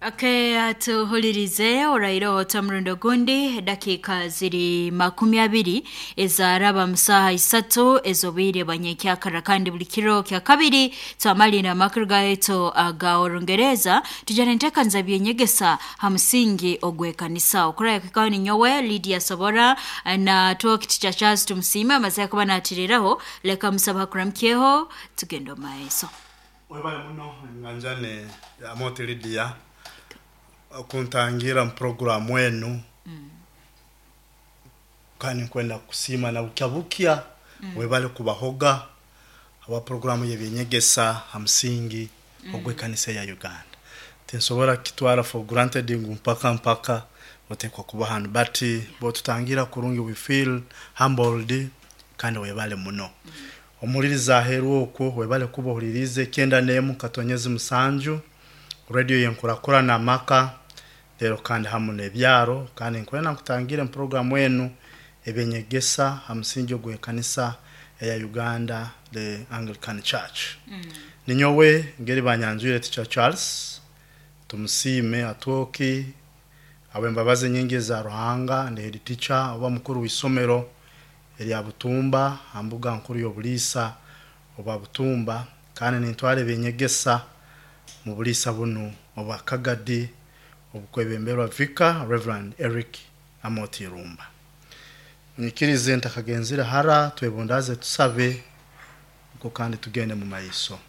Okay, tuhulirize oraireho omurundi ogundi dakiika ziri 20 ezaraba musaha 3 ez'obwire bwanyekyakara kandi buli kiro kya kabiri twamalira amakuru gaitu aga Orungereza tujana enteekaniza byenyegesa ha musingi ogw'ekanisa. Okuraya kikaho ninyowe Lydia Sobora na twokiti kya Charles Tumusiime amaze kuba natiriraho, leka musaba hakuramukyeho tugende omu maiso. Webale muno nganjane ya Moti Lydia kuntangira mu programu enu. Kandi nkwenda kusiima na bukya bukya. Webale kubahoga aba programu y'ebyenyegesa ha musingi ogw'ekanisa ya Uganda. Tinsobora kitwara for granted ngu mpaka mpaka otekwa kuba hanu, but bwotutangira kurungi we feel humbled, kandi webale muno. Omuhuliriza aheeru okwo webale kuba ohuliriize 91.7 radio yenkurakurana amaka rero kandi hamu n'ebyaro, kandi nkwenda nkutangire mu programu enu ebyenyegesa ha musingi ogw'ekanisa eya Uganda, the Anglican Church. Ninyowe ngeri banyanjwire Teacher Charles Tumusiime Atwoki, ab'embabazi nyingi eza Ruhanga, ndi head teacher oba mukuru w'isomero erya Butumba ha mbuga nkuru y'obuliisa obwa Butumba, kandi nintwara ebyenyegesa mu buliisa bunu obwa Kagadi obukwebemberwa Vicar Reverend Eric Amoti Irumba. Nyikirize ntakagenzire hara, twebundaze tusabe nko kandi tugende mu maiso.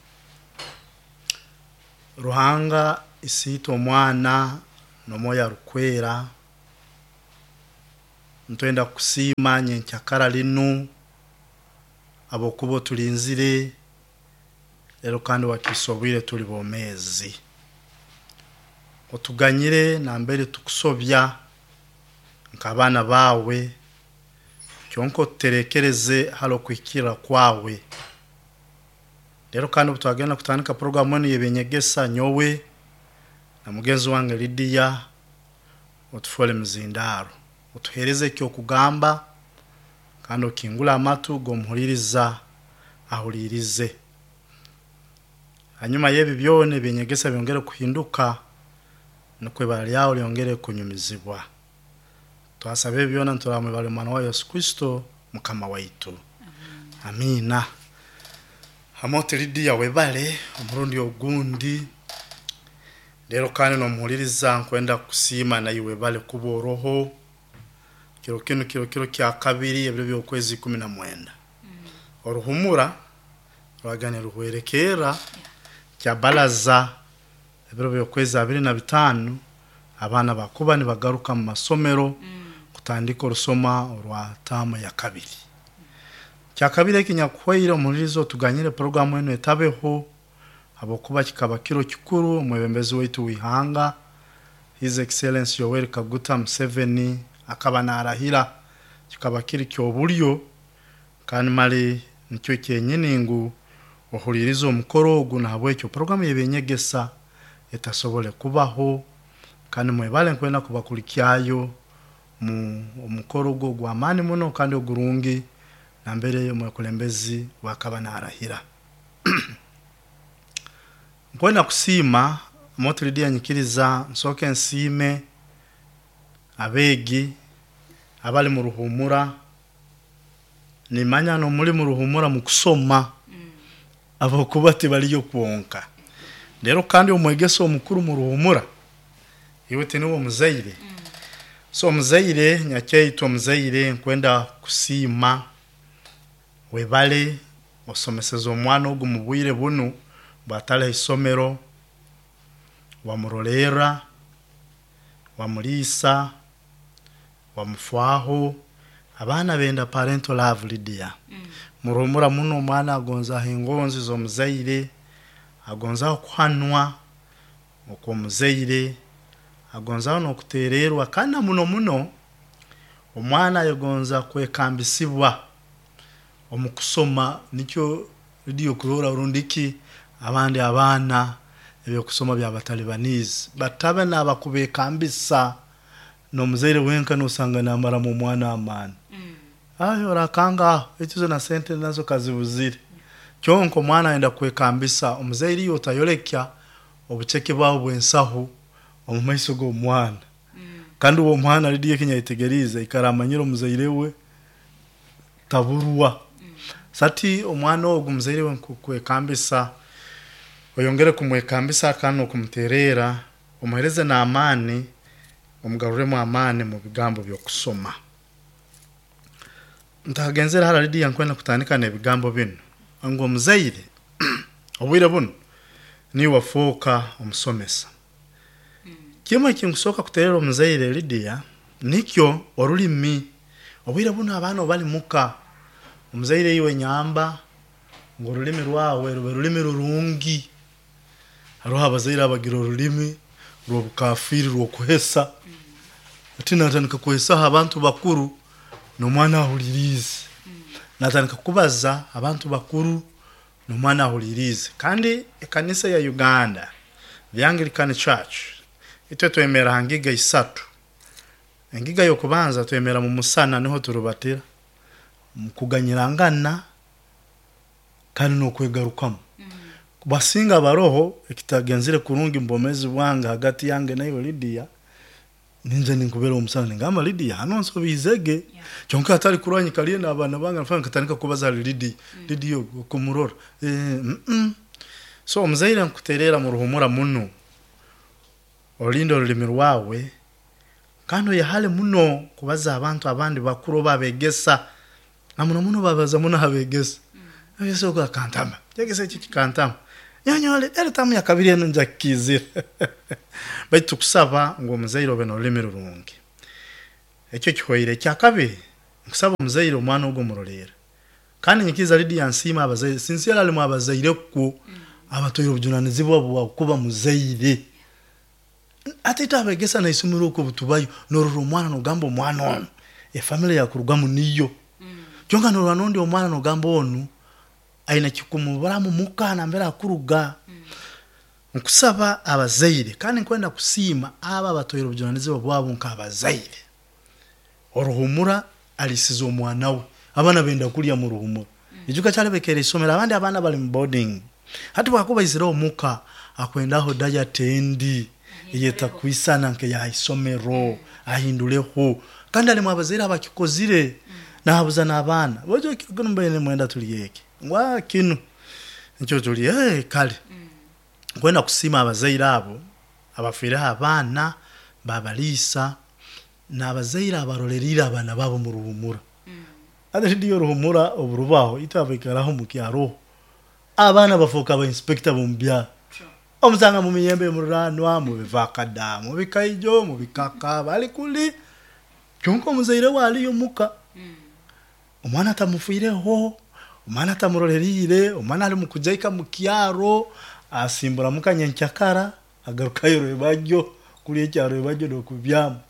Ruhanga isiitwe omwana n'omwoyo arukwera, ntwenda kusiima nyenkyakara linu abokuba otulinzire rero kandi wakiisa obwire tuli bomeezi. Otuganyire nambere tukusobya nk'abaana baawe, kyonka otuterekereze hali okuhikirra kwawe. Rero kandi obu twagenda kutandika programu enu y'ebyenyegesa, nyowe na mugenzi wange Lydia, otufoole mizindaaro, otuheereze eky'okugamba kandi okingule amatu g'omuhuliriza ahuliirize. Hanyuma y'ebi byona ebyenyegesa byongere kuhinduka, nukwo ibara lyawe lyongere kunyumizibwa. Twasaba ebi byona nituramwibara omwana wa Yesu Kristo Mukama waitu. Amiina. Hamoti Lydia webale omurundi ogundi. Rero kandi n'omuhuliriza nkwenda kusiima naiwe webale kuba oroho. Kiro kinu kiro kiro kya kabiri ebiro by'okwezi 19. Oruhumura rwagane ruhwerekerra kya baraza ebiro by'okwezi 25, abaana bakuba nibagaruka mu masomero kutandika orusoma orwa taamu ya kabiri. Kya kabiri ekinyakuhwaire omuhuliriza otuganyire programu enu etabeho habwokuba kikaba kiro kikuru omwebembezi waitu w'ihanga His Excellency Yoweri Kaguta Museveni akaba narahira, kikaba kiri ky'obulyo kandi mali nikyo kyenyini ngu ohulirize omukoro ogu, nahabwekyo programu y'ebyenyegesa etasobole kubaho, kandi mwebale nkwenda kubakulikyayo mu omukoro ogu ogw'amaani muno kandi ogurungi nambere omwekulembezi wakaba narahira. Nkwenda kusiima Moti Lydia, nyikiriza nsooke nsiime abeegi abali mu ruhumura. Nimanya n'omuli mu ruhumura mu kusoma abokuba tibaliyo kwonka. Rero kandi omwegesa omukuru mu ruhumura iwe tiniwe omuzaire. So omuzaire nyakyaitu omuzaire nkwenda kusiima webale osomeseza omwana ogu mu bwire bunu bwatali ha isomero, wamurolerra, wamuliisa, wamufwaho. Abaana benda parental love Lydia. Muruhumura muno omwana agonzaho engonzi z'omuzaire, agonzaho kuhanwa okw'omuzaire, agonzaho n'okutererwa, kandi na muno muno omwana ayegonza kwekambisibwa omu kusoma. Nikyo Lydia okurora rundiki abandi abaana ebyokusoma byabatalibaniize batabe n'abakubekambisa n'omuzaire wenka nosanga namaramu omwana amaani. Ayo orakanga aho ekizo na sente nazo kazibuzire. Kyonka omwana ayenda kwekambisa omuzaire, iwe otayolekya obuceke bwawe bw'ensaho. Omu maiso g'omwana. Kandi uwo omwana Lidiya ekinyayetegeriize aikara amanyire omuzaire we taburwa. Sati omwana ogu muzaire we nkukwekambisa oyongere kumwekambisa kandi n'okumuteererra, omuheereze n'amaani, omugarurremu amaani mu bigambo by'okusoma. Ntakagenzere hara Lidiya nkwenda kutandika n'ebigambo binu ngu omuzaire obwire bunu niiwe wafooka omusomesa. Kimu ekinkusooka kuteererra omuzaire Lidiya nikyo orulimi. Obwire bunu abaana obu bali muka, omuzaire iwe nyamba ngu orulimi rwawe rube rulimi rurungi. Haroho abazaire abagira orulimi rw'obukafiiri rw'okuhesa, hati naatandika kuhesaho abantu bakuru n'omwana ahuliriize. Naatandika kubaza abantu bakuru n'omwana ahuliriize. Kandi ekanisa ya Uganda, the Anglican Church, itwe twemerra ha ngiga isatu. Engiga y'okubanza twemerra mu musana niho turubatira, mu kuganyirangana kandi n'okwegarukamu. Basinga baroho ekitagenzere kurungi mu bwomeezi bwange hagati yange naiwe Lidiya, ninyija ninkubeera omusana ningamba Lidiya hanu onsobiizege. Kyonka hatali kurora nyikaliire n'abaana bange nkatandika kubaza hali Lidiya, Lidiya ogu okumurora, So omuzaire nkuteererra muruhumura muno, olinde orulimi rwawe kandi oyehale muno kubaza abantu abandi bakuru oba abeegesa, na muno muno babaza muno abeegesa. Omwegesa ogu akantama, ekyegesa eki kikantama, nyowe nyowe eri taamu ya kabiri enu nja kukiizira. Baitu tukusaba ngu omuzaire obe n'orulimi rurungi. Ekyo kihoire. Ekyakabiri, nkusaba omuzaire omwana ogu omurolerre. Kandi nyikiriza Lidiya nsiima abazaire, sincerely alimu abazaire kwo abatwaire obujunanizibwa bwa kuba muzaire. Hati itwe abeegesa n'isomero oku obu tubayo, noorora omwana noogamba omwana onu efamire eyakurugamu niyo. Kyonka noorora n'ondi omwana noogamba onu aine ekikumuburamu muka nambere akuruga. Nkusaba abazaire kandi nkwenda kusiima abo abatwaire obujunanizibwa bwabo nk'abazaire. Oruhumura alisize omwana we. Abaana benda kulya mu ruhumura. Ijuka kyalebekera isomero abandi abaana bali mu boarding. Hati bwakuba aizireho muka akwendaho diet endi eyetakwisana nk'eya isomero ahinduleho. Kandi alimu abazaire abakikozire nahabuza n'abaana, bojo kiro kinu mubaire nimwenda tulye ki? Ngu kinu nikyo tulye, kale. Nkwenda kusiima abazaire abo abafiireho abaana babaliisa n'abazaire abaroleriire abaana baabo omu ruhumura. Hati rediyo oruhumura obu rubaho, itwe abaikaraho omu kyaroho, abaana bafooka ba inspector b'omu byaro. Omusanga mu miyembe muriranwa, mu bivakada, mu bikaijo, mu bikaka, bali kuli. Kyonka omuzaire we aliyo muka. Omwana atamufiireho, omwana atamuroleriire, omwana ali mu kujaika mu kyaro, asimbura muka nyenkyakara, agarukayo rwebagyo kulya ekya rwebagyo n'okubyama.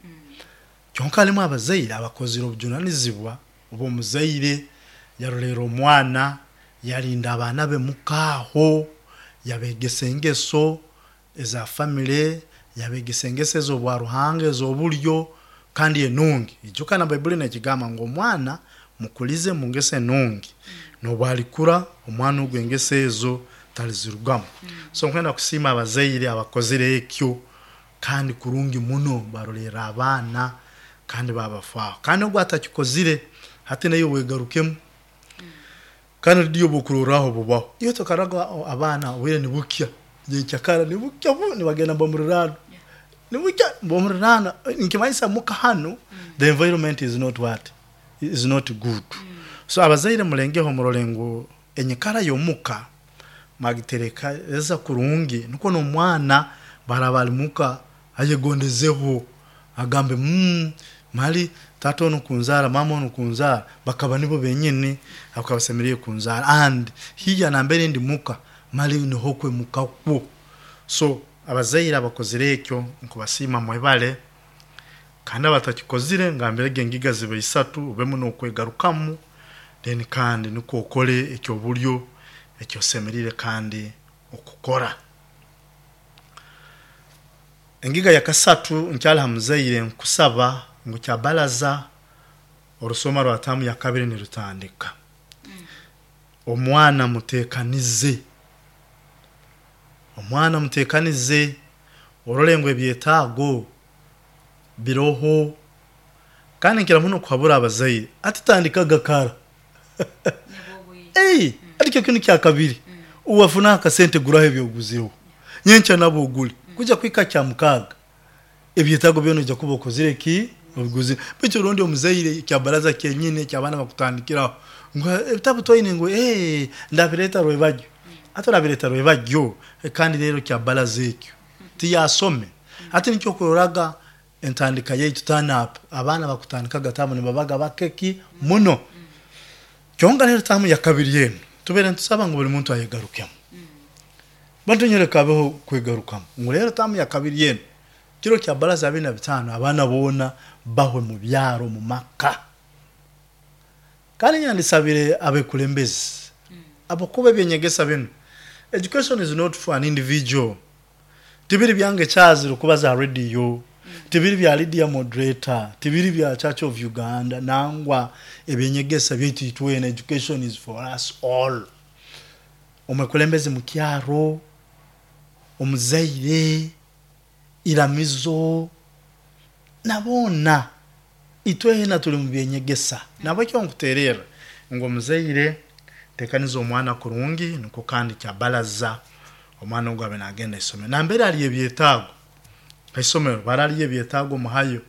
Kyonka halimu abazaire abakozire obujunanizibwa obw'omuzaire, yarolerra omwana, yalinda abaana be muka aho, yabeegesa engeso eza famire, yabeegesa engeso ez'obwa Ruhanga ez'obulyo kandi enungi. Ijuka na Baibuli n'ekigamba ngu omwana mukulize mu ngeso enungi, n'obu alikura omwana ogu engeso ezo talizirugamu. So nkwenda kusiima abazaire abakozire ekyo kandi kurungi muno barolerra abaana kandi babafaaho. Kandi ogu atakikozire hati naiwe wegarukemu. Kandi rediyo obwokurorraho bubaho. Iwe tokaraga abaana obwire nibukya, nyenkyakara nibukya bu nibagenda mbamuriraano. Nibukya mbamuriraano nikimanyisa muka hanu the environment is not what? Is not good. So abazaire mulengeho murole ngu enyikara y'omuka mwagiterekereza kurungi nukwo n'omwana bwaraaba ali muka ayegondezeho agambe mali taata onu kunzaara, maama onu kunzaara bakaba nibo benyini abakaba basemeriire kunzaara and hiya nambere ndi muka mali niho kwe muka kwo. So abazaire abakozire ekyo nkubasiima mwebale kandi abatakikozire ngambirege engiga ziba isatu obemu n'okwegarukamu then kandi nukwo okole eky'obulyo eki osemeriire kandi okukora. Engiga yakasatu nkyali ha muzaire nkusaba ngu kyabaraza orusoma rwa taamu yakabiri nirutandika. Omwana muteekanize. Omwana muteekanize. Orole ngu ebyetaago biroho. Kandi nkira muno kuhabura abazaire atitandikaga kara. Ati kyo kinu kya kabiri. Uwafuna akasente guraho ebyoguzireho. Nyenkya nabo ogule. Kuja kuhika kya mukaaga. Ebyetaago byona ojja kuba okozire ki? Obiguzire. Baitu orundi omuzaire kya baraza kyenyini eky'abaana bakutandikiraho ngu ebitabu twaine ngu ndabireeta rwebagyo. Hati orabireeta rwebagyo kandi rero kya baraza ekyo tiyasome. Hati nikyo okuroraga entandika yaitu turn up abaana bakutandikaga tamu nibabaga bake ki muno. Kyonka rero tamu ya kabiri enu tubaire nitusaba ngu buli muntu ayegarukemu. Bantu nyowe leka habeho kwegarukamu ngu rero tamu ya kabiri enu kiro kya baraza 25 abaana boona bahwe mu byaro mu maka. Kandi nyandisabire abekulembezi abakuba ebyenyegesa binu, education is not for an individual. Tibiri byange kyazira kuba za radio, tibiri bya Lydia moderator, tibiri bya Church of Uganda, nangwa ebyenyegesa byaitu itwena, education is for us all. Omwekulembezi mu kyaro, omuzaire, iramizo, na boona itwena tuli mu byenyegesa. Nabwekyo nkutererra ngu omuzaire tekaniza omwana kurungi nukwo kandi kya baraza omwana ogu abe nagenda haisomero. Nambere hali ebyetaago haisomero, bara haliyo ebyetaago muhayo,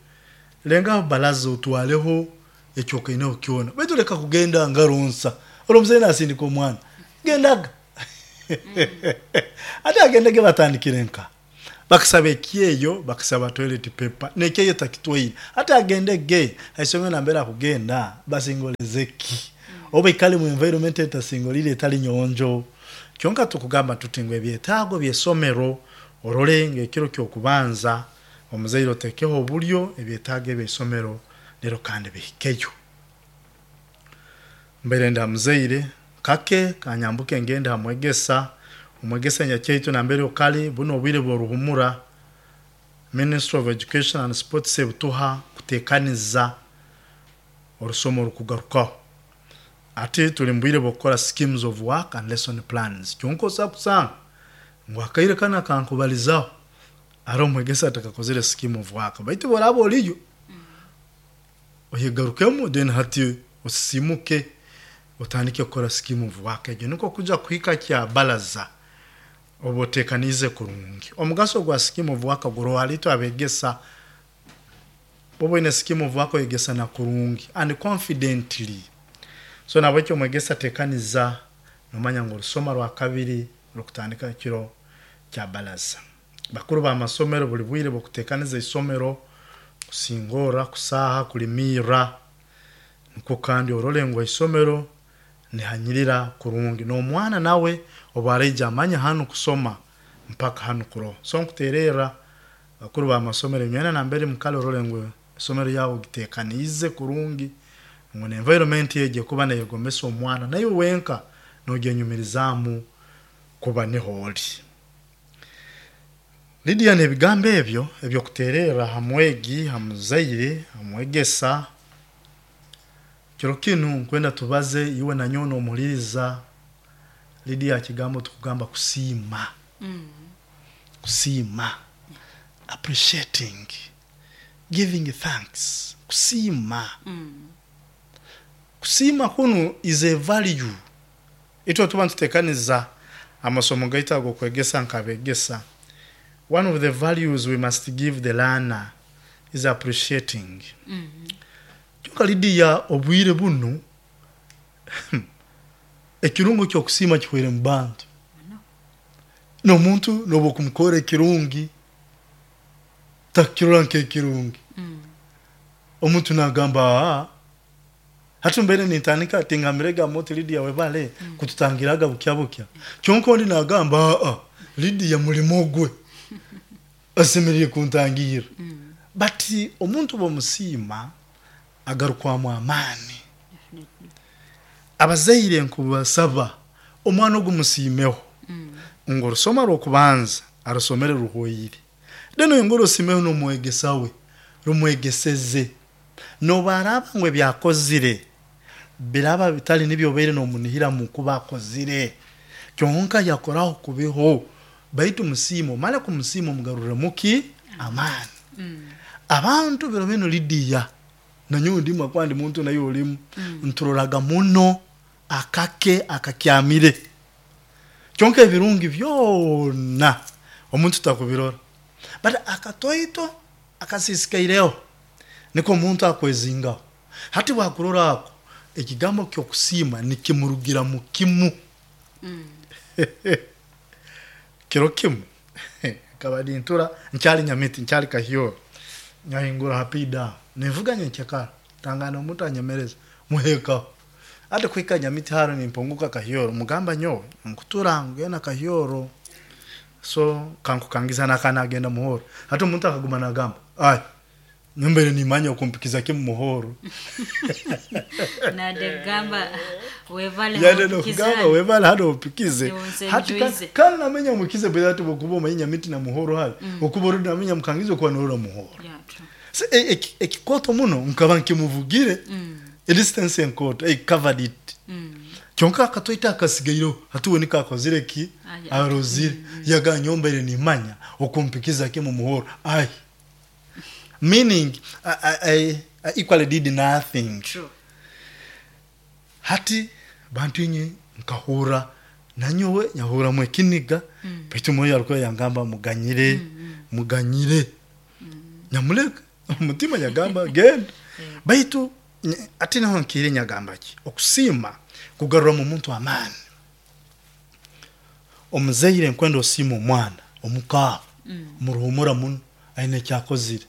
lengaho baraza otwaleho ekyokaineho kyona, baitu leka kugenda ngaro nsa. Ori omuzaire nasindika omwana, gendaga. Ate agendege batandikire nka bakasaba ekyeyo, bakasaba toilet paper, n'ekyeyo takitwaire. Hati agendege haisomero nambere akugenda basingoleze ki? Oba aikale mu environment etasingoliire etali nyonjo. Kyonka tukugamba tuti ngu ebyetaago by'esomero orole ngu ekiro ky'okubanza omuzaire otekeho obulyo ebyetaago eby'eisomero lero kandi bihikeyo. Mbaire ndi ha muzaire kake kanyambuke ngende ha mwegesa, omwegesa nyakyaitu nambere okali bunu obwire bw'oruhumura Ministry of Education and Sports ebutuha kutekaniza orusomo orukugarukaho. Ati tuli mu bwire bw'okukora schemes of work and lesson plans. Kyonka osobola kusanga ngu akaire kanu akankubalizaho hariho omwegesa atakakozire scheme of work, baitu bworaba oriyo oyegarukemu then hati osisimuke otandike kukora scheme of work egyo nikwo kuja kuhika kya baraza oba otekaniize kurungi. Omugaso gwa scheme of work guroho hali itwe abegesa, oba oine scheme of work oyegesa na kurungi and confidently. So nabwekyo omwegesa tekaniza nomanya ngu orusoma rwa kabiri rukutandika kiro kya baraza. Bakuru b'amasomero buli bwire bw'okutekaniza isomero, kusingorra, kusaaha, kulimirra, nikwo kandi orole ngu isomero nihanyirira kurungi. N'omwana nawe obu araija amanye hanu kusoma mpaka hanu kuroho. So nkutererra bakuru b'amasomero inywena nambere mukali orole ngu isomero lyawe ogitekaniize kurungi, ngu n'environment egi ekuba neyegomesa omwana naiwe wenka nogyenyumirizaamu kuba niho ori. Lydia n'ebigambo ebyo eby'okutererra ha mwegi, ha muzaire, ha mwegesa, kiro kinu nkwenda tubaze iwe na nyowe n'omuhuliriza Lydia ha kigambo tukugamba kusiima. Kusiima, appreciating, giving thanks, kusiima. Kusiima kunu is a value. Itwe tuba nitutekaniza amasomo gaitu ag'okwegesa nk'abegesa, one of the values we must give the learner is appreciating. Kyonka Lydia obwire bunu ekirungo ky'okusiima kihwaire mu bantu. N'omuntu n'obu okumukorra ekirungi takukirora nk'ekirungi. Omuntu nagamba aa, hati mbaire nintandika tingambirege oti Lydia webale kututangiraga bukya bukya. Kyonka ondi nagamba aa, Lydia mulimo gwe asemeriire kuntangirra. But omuntu bw'omusiima agarukwamu amaani. Abazaire nkubasaba omwana ogu musiimeho ngu orusoma rw'okubanza arusomere ruhwaire. Then oyongere osiimeho n'omwegesa we rumwegeseze. N'obu araaba ngu ebi akozire biraba bitali nibyo obaire n'omunihiramu kuba akozire, kyonka yakoraho kubiho. Baitu musiime, omale kumusiima omugarurremu ki? Amaani. Abantu biro binu Lidiya, nanyowe ndimu habwokuba ndi muntu naiwe olimu, nturoraga muno akake akakyamire. Kyonka ebirungi byona omuntu takubirora. But akatoito akasiisikaireho niko omuntu akwezingaho. Hati bwakurora ako, ekigambo ky'okusiima nikimurugiramu kimu. Kiro kimu nkaba nintura nkyali Nyamiti, nkyali Kahyoro, nyahingura ha P-Dam, ninvuga nyenkyakara, ntangana omuntu anyemereza, muhekaho. Hati kuhika Nyamiti haro nimpunguka Kahyoro, mugamba nyowe nkutura ngenda Kahyoro, so kankukangiza naka nagenda Muhoro. Hati omuntu akaguma nagamba, ai nyowe mbaire nimanya okumpikiza kimu Muhoro. Nadegamba webale Yade hompikiza nokugamba hanu. webale hano ompikize. Niwonse Hati njuize. kandi namenya mukize bwe hati bwokuba omanye Nyamiti na Muhoro hali. Okuba orudi namenya mukangize okuba norora Muhoro. Yeah, true. So, ekikoto muno nkaba nkimuvugire. A distance enkoto, I covered it. Kyonka akatoito akasigaireho, hati we niko akozire ki? Aye. Arozire. Yaga nyombaire nimanya okumpikiza kimu Muhoro. Ai. Meaning I equally did nothing. True. Hati bantu inye nkahurra nanyowe nyahurramu ekiniga, baitu Omwoyo alikuwa yangamba muganyire, muganyire. Nyamuleka omutima yagamba genda. Baitu ati naho nkiire nyagamba ki? Okusiima kugaruramu omuntu amaani. Omuzaire nkwenda osiime omwana omukaabo, muruhumura muno aine ekyakozire.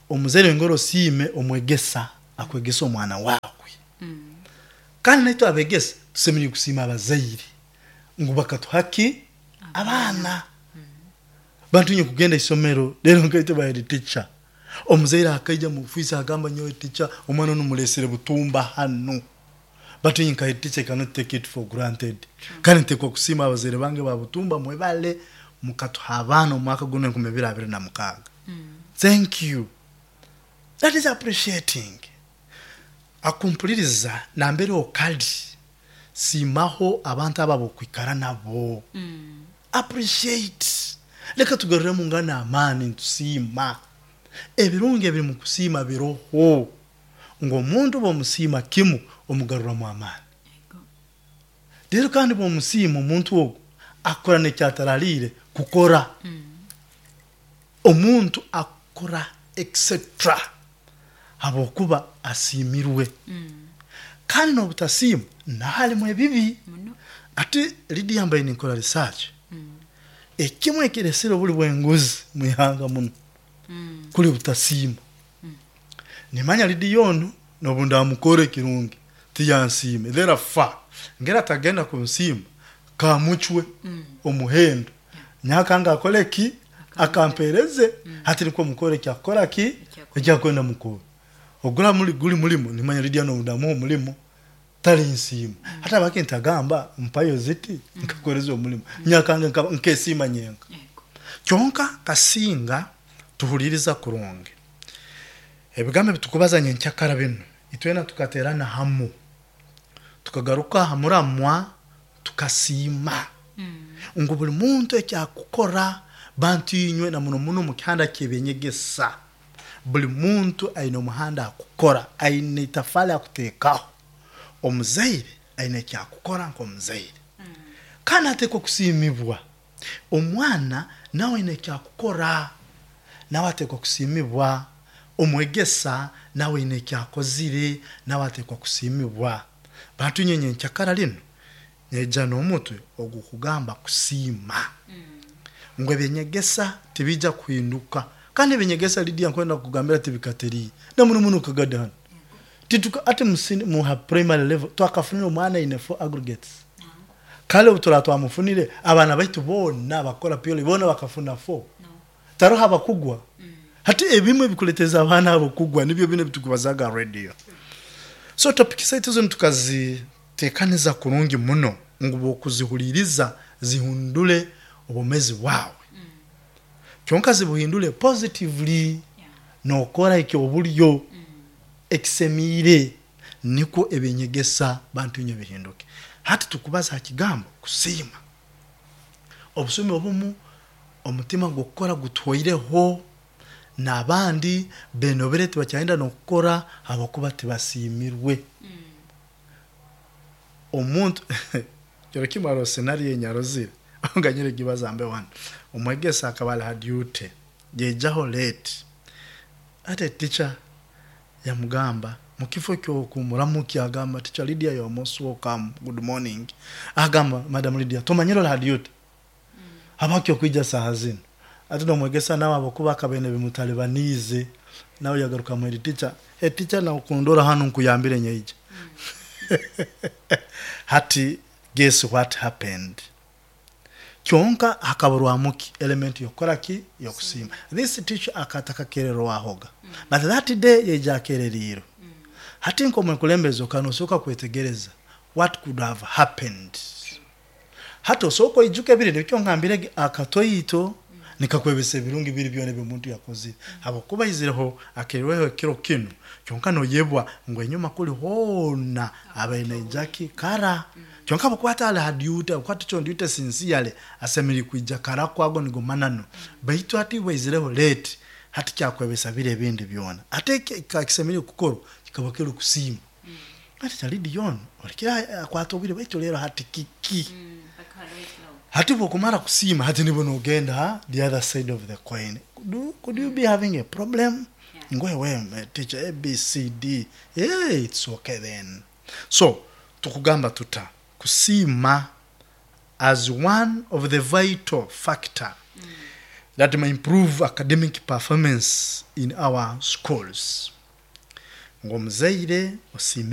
Omuzaire ngora osiime omwegesa akwegesa omwana wawe. Kandi naitwe abegesa tusemeriire kusiima abazaire ngu bakatuha ki? Abaana. Bantu inywe kugenda isomero rero nkaitwe ba head teacher. Omuzaire akaija mu ofiisi agamba nyowe teacher omwana onu mulesere butumba hanu. But inye nka head teacher I cannot take it for granted. Kandi ntekwa kusiima abazaire bange ba butumba mwebale mukatuha abaana omu mwaka gunu 2026. Thank you. That is appreciating. Akumpuliriza nambere okali siimaho abantu abo abokwikara nabo. Appreciate. Leka tugaruremu ngana amaani nitusiima. Ebirungi ebiri mu kusiima biroho. Ngu omuntu bw'omusiima kimu omugaruramu amaani. Rero kandi bw'omusiima omuntu ogu akora n'ekyataraliire kukora. Omuntu akora etc habwokuba asiimirwe. Kandi n'obutasiima naho harimu ebibi. Hati Lydia mbaire ninkora research, ekimwe ekiresire obuli bw'enguzi omu ihanga muno kuli butasiima. Nimanya Lydia onu n'obu ndamukora ekirungi tiyansiime, therefore ngera atagenda kunsiima kamucwe omuhendo nyakanga akole ki? Akampereze. Hati nikwo mukore ekyakukora ki? Ekyakwenda mukore. Ogura muli guli mulimo nimanya Lydia n'obu ndamuha omulimo talinsiima. Hati habwaki ntagamba mpayo ziti nkakoreza omulimo nyakanga nkesiima nyenka. Kyonka kasinga tuhuliriza kurungi ebigambo ebitukubaza nyenkyakara binu, itwena tukaterana hamu tukagaruka ha muramwa tukasiima ngu buli muntu ekyakukora bantu inywe na muno muno omu kihanda ky'eby'enyegesa, buli muntu aine omuhanda akukora, aine itafaali akuteekaho. Omuzaire aine ekyakukora nk'omuzaire kandi ateekwa kusiimibwa. Omwana nawe aine ekyakukora, nawe ateekwa kusiimibwa. Omwegesa nawe aine ekyakozire, nawe ateekwa kusiimibwa. Bantu inywe nyenkyakara linu nyaija n'omutwe ogukugamba kusiima. Ngu eby'enyegesa tibiija kuhinduka. Kandi eby'enyegesa Lydia nkwenda kukugambira tibikateriire. Na muno muno Kagadi hanu. Tituka ati mu ha primary level twakafunire omwana aine 4 aggregates. Kale obu turaba twamufunire, abaana baitu boona abakukora PLE boona bakafuna 4. Taroho abakugwa. Hati ebimu ebikuleteza abaana abo kugwa nibyo binu ebitukubazaga ha radio. So topic zaitu zinu tukazitekaniza kurungi muno ngu bwokuzihuliriza zihundule obwomezi bwawe. Kyonka zibuhindule positively nokora ekyobulyo ekisemiire nikwo eby'enyegesa bantu inywe bihinduke. Hati tukubaza ha kigambo kusiima. Obusumi obumu omutima gw'okukora gutwoireho, n'abandi benobere tibakyayenda n'okukora habwokuba tibasiimirwe. Omuntu kiro kimu haroho scenario enyarozire nganyire gibaza mbe wanu. Omwegesa akaba ali ha duty, yaijaho late, ate teacher yamugamba mukifo ky'okumuramukya agamba, "Teacher Lydia, you are most welcome, good morning." Agamba, "Madam Lydia, tomanyire oli ha duty, habwaki okwija saaha zinu?" Ate n'omwegesa nawe habwokuba akaba aine bimutalibaniize, nawe yagarukamu eri teacher, "Hey teacher, nawe kundora hanu nkuyambire nyaija." Hati guess what happened? Kyonka hakaburwamu ki? Element y'okukora ki? Y'okusiima. This teacher akatakakererwahoga, but that day yaija akereriirwe. Hati nk'omwekulembezi okaba nosooka kwetegereza what could have happened. Hati osooka oijuke biri nikyo ngambirege akatoito nikakwebesa ebirungi biri byona ebi omuntu yakozire. Habwokuba aizireho akerirweho ekiro kinu, kyonka noyebwa ngu enyuma kuli hoona abaire naija ki kara. Kyonka habwokuba atali ha duty, habwokuba teacher on duty sincerely asemeriire kwija kara kwago nigo mananu. Baitu hati bwaizireho late, hati kyakwebesa biri ebindi byona. Ate ekikaba kisemeriire kukorwa kikaba kiri kusiima. Hati Lydia onu olekere akwata obwire, baitu leero hati kiki? Hati bwokumara kusiima, hati nibwo nogenda the other side of the coin. Could you be having a problem? Ngwe teacher A, B, C, D. Hey, it's okay then. So, tukugamba tuta kusiima as one of the vital factor that may improve academic performance in our schools. Ng'omuzaire osiime.